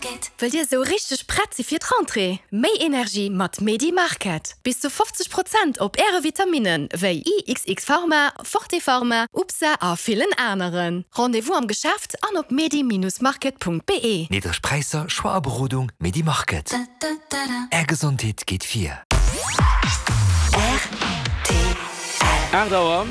Wëllt Dir esou richteg prett si fir d'Rentrée? Méi Energie mat Medi Market! Bis zu 50 Prozent op Äre Vitaminnen wéi IXX Pharma, Forte Pharma, UPSA a villen aneren. Rendez-vous am Geschäft an op medi-market.be. Niddreg Präisser, Choix a Berodung, Medi Market. Är Gesondheet geet vir. 8 Auer,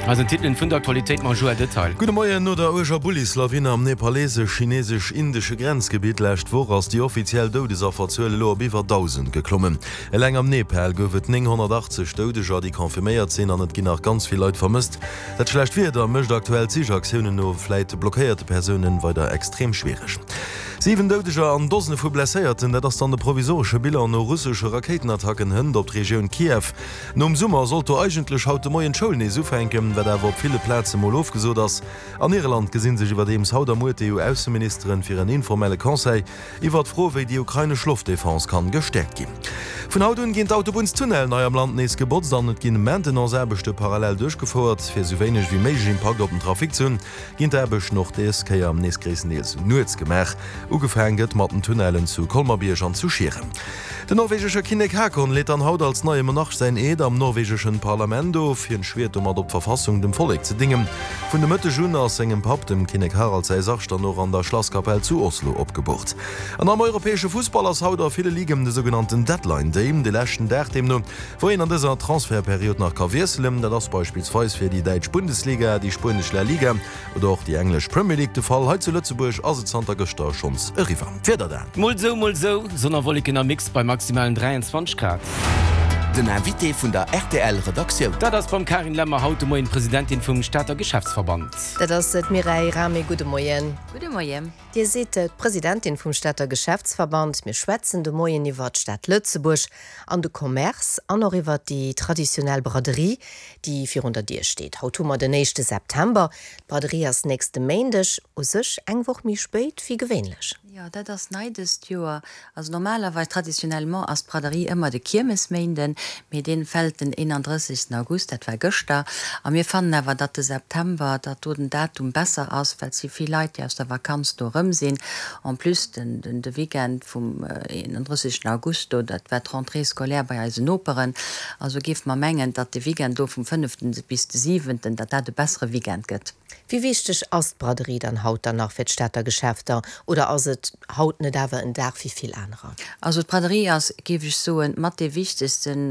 eisen Titelen vun der Aktualitéit mam Joël Detail. Gudde Moien, No der uerger Bullislawine am nepalesesch-chinesesch-indesche Grenzgebitt lescht Woch ass déi offiziell Doudesafferzuel elo op iwwer 1.000 geklommen. Eleng am Nepal gouf et 980 Doudeger, déi confirméiert sinn, an et ginn nach ganz vill Leit vermësst. Dat schlecht Wieder mécht aktuell d'Sichaktiounen no vläit blockéierte Persounen weider extrem schwiereg. 7 Doudeger an Dosene vu Blesséierten, dat ass dann de provisoresche Bilan no russesche Rakéitenattacken hënt op d'Regioun Kiew. Nom Summer sollt do eigentlech haut de Moien d'Schoul nees ufänken, wat awer op ville Plaze mol ofgesot ass. An Irland gesi sech iwwerdeems haut a muer d'EU-Ausseministeren fir en informelle Conseil iwwer d'Fro, wéi déi ukrainesch Loftdefense kann gestäerkt ginn. Vun haut un ginn d'Autobunnstunnellen hei am Land nees gebotzt an et ginn Maintenance-Aarbechte parallel duerchgefouert. Fir esou wéineg wéi méiglech Impakt op den Trafic ze hunn, ginn d'Aarbechten och des Kéier nees gréisstendeels nuets gemaach. Ugefaang gëtt mat den Tunnellen zu Colmer-Bierg an zu Schieren. Den norwegesche Kinnek Haakon leet dann haut als neie Monarch säin Eed am norwegeschen Parlament of. Hien schwiert domat op d'Verfassung dem Vollek ze dingen. Vun de Mëtteg un ass sengem Papp, dem Kinnek Harald säi Sarg dann och an der Schlasskapell zu Oslo opgeboort. An am europäesche Fussball ass haut a ville Liguen de sougenannten Deadline Day, de leschten Dag deemno, wou een an dëser Transfertperiod nach ka wiesselen. Dat ass beispillsweis fir déi däitsch Bundesliga, déi spuenesch La Liga oder och déi englesch Premier League de Fall. Hei zu Lëtzebuerg ass et zanter gëschter schonns eriwwer. D'Wieder dan. Mol sou, mol sou, Sonn a Wolleken am Mix bei maximalen 23 Grad. Den Invité vun der rtl Redaktioun. Dat ass beim Karin Lemmer haut de Moien d'Presidentin vum Stater Geschäftsverband. Dat ass d'Mireille Rahmé. Gudde Moien. Gudde Moien. Dir sidd d'Presidentin vum Stater Geschäftsverband. Mir schwätzen de Moien iwwer d'Stad Lëtzebuerg an de Commerce an och iwwer déi traditionell Braderie, déi virun der Dier steet. Haut hu mer den éischte September. D'Braderie ass nächste Méindeg, u sech eng Woch méi spéit wéi gewéinlech. Jo, dat ass nei dëst Joer. Also normalerweis, traditionnellement ass d'Braderie ëmmer de Kiermesméinden, mee dee fält den 31. August, dat war gëschter. A mir fannen awer, datt de September, datt do den Datum besser ass, well et si vill Leit, déi aus der Vakanz do erëm sinn. En plus den de Weekend vum 31. August do, dat war d'Rentrée scolaire bei eisen Noperen. Also géife mer mengen, datt de Weekend do vum fënneften bis de siwenten, datt dat e bessere Weekend gëtt. Wéi wichteg ass d'Braderie dann haut dann nach fir d'Stater Geschäfter oder ass et haut net awer en Dag wéi vill anerer? Also d'Braderie ass, géif ech soen, mat dee wichtegsten.